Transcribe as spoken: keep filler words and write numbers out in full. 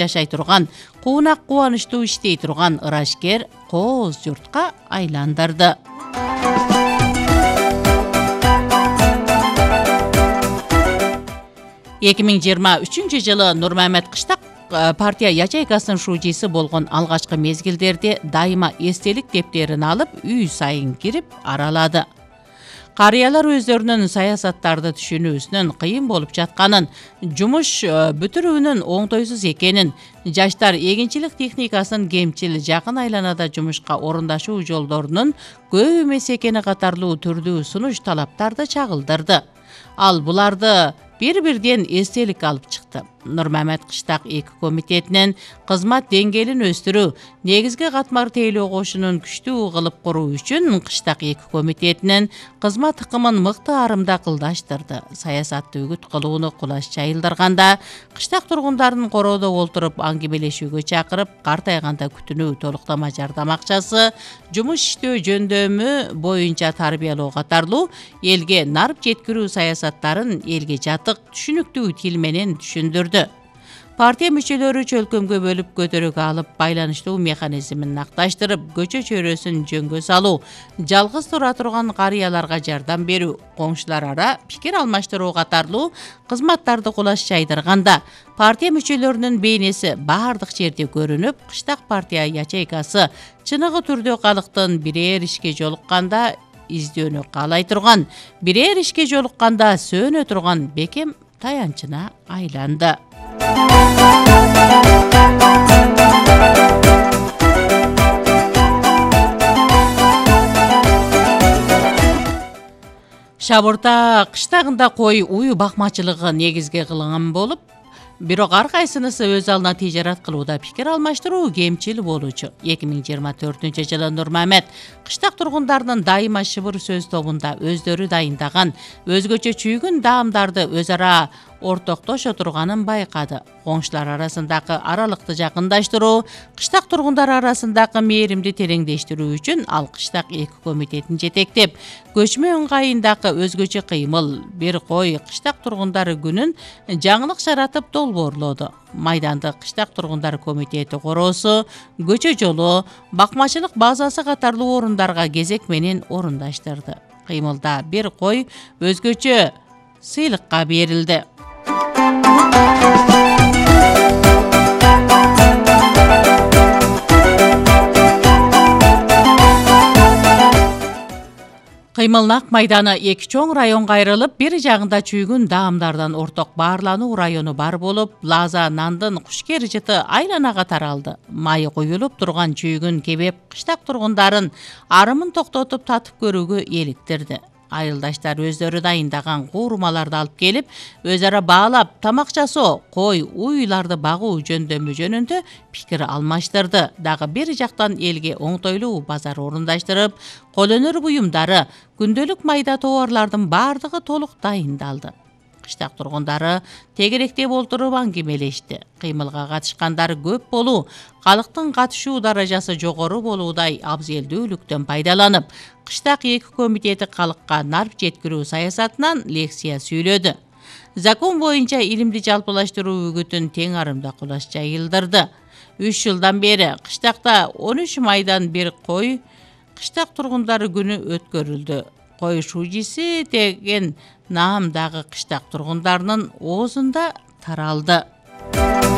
жашай турган, куунак кубанычтуу иштей турган ырашкер кооз журтка айландырды. эки миң жыйырма үчүнчү жылы Нурмамет Кыштак партия ячейкасынын шуучусу болгон алгачкы мезгилдерде дайыма эстелик дептерин алып үй сайын кирип аралады. Карыялар өздөрүнүн саясаттарды түшүнүүсүнүн кыйын болуп жатканын, жумуш бүтүрүүнүн оңтойсуз экенин, жаштар эгинчилик техникасын кемчил, жакын айланада жумушка орундашуу жолдорунун көп эмес экени катарлуу түрдүү сунуш талаптарды чагылдырды. Ал буларды бир-бирден эстелик алып чыкты. Нурмамет Кыштак эки комитетинин кызмат деңгээлин өстүрүү, негизги катмар тейлөө кошунун күчтүү кылып куруу үчүн Кыштак эки комитетинин кызмат ыкымын мыкты арымда кылдаштырды. Саясатты үгүт кылууну кулаш жайылдырганда, Кыштак тургундарын короодо олтуруп аңгемелешүүгө чакырып, картайганда күтүнүү толуктама жардам акчасы, жумуш иштөө жөндөмү боюнча тарбиялоо катарлуу элге нарып жеткирүү саясаттарын элге жатык, түшүнүктүү тил менен түшүндүрдү. Партия мүчөлөрү чөлкөмгө бөлүп көтөрүүгө алып, байланыштуу механизмин накташтырып, көчө чөйрөсүн жөнгө салуу, жалгыз тура турган карыяларга жардам берүү, коңшулар ара пикир алмаштыруу катарлуу кызматтарды кулаш жайдырганда, партия мүчөлөрүнүн бейнеси баардык жерде көрүнүп, Кыштак партия ячейкасы чыныгы түрдө калктын бирээр ишке жолукканда издөөнү каалай турган, бирээр ишке жолукканда сөөнө турган бекем таянчына айланды. Шабырта кыштагында кой уй бакмачылыгы негизге кылынган болуп, бирок ар кайсынысы өз алдына тижарат кылууда пикир алмаштыруу кемчил болуучу. эки миң жыйырма төртүнчү жылы Нурмамет Кыштак тургундарынын дайыма шыбыр сөз тобунда өздөрү дайындаган өзгөчө чүйгүн даамдарды өз ара ортоктошо турганын байкады. Коңшулар арасындагы аралыкты жакындаштыруу, Кыштак тургундары арасындагы мээримди тереңдештирүү үчүн ал Кыштак эки комитетин жетектеп, көчмө ыңгайындагы өзгөчө кыймыл, бир кой Кыштак тургундары күнүн жаңылык жаратып долбоорлоду. Майданды Кыштак тургундары комитети короосу, көчө жолу, бакмачылык базасы катарлуу орундарга кезек менен орундаштырды. Кыймылда бир кой өзгөчө сыйлыкка берилди. Кыймылнак майданы эки чоң районго айрылып, бир жагында чүйгүн даамдардан орток баарлануу району бар болуп, Лаза нандын кушкер жыты айланага таралды. Майы куюлуп турган чүйгүн кебеп Кыштак тургундарын арымын токтотуп татып көрүүгө эликтирди. Айылдаштар өздөрү дайындаган куурмаларды алып келип, өз ара баалап, тамак жасоо, кой, уйларды багуу жөндөмү жөнүндө пикир алмаштырды. Дагы бир жактан элге оңтойлуу базар орундаштырып, кол өнөр буюмдары, күндөлүк майда товарлардын баардыгы толук дайындалды. Кыштак тургундары тегеректеп олтуруп аңгемелешти. Кыймылга катышкандар көп болуу, калктын катышуу даражасы жогору болуудай абзелдүүлүктөн пайдаланып, Кыштак эки комитети калкка нарп жеткирүү саясатынан лекция сүйлөдү. Закон боюнча илимди жалпылаштыруу үгүтүн тең арымда кулаш жайылдырды. үч жылдан бери Кыштакта он үч майдан бир кой Кыштак тургундары күнү өткөрүлдү. Кой шуучусу деген наам дагы Кыштак тургундарынын оозунда таралды.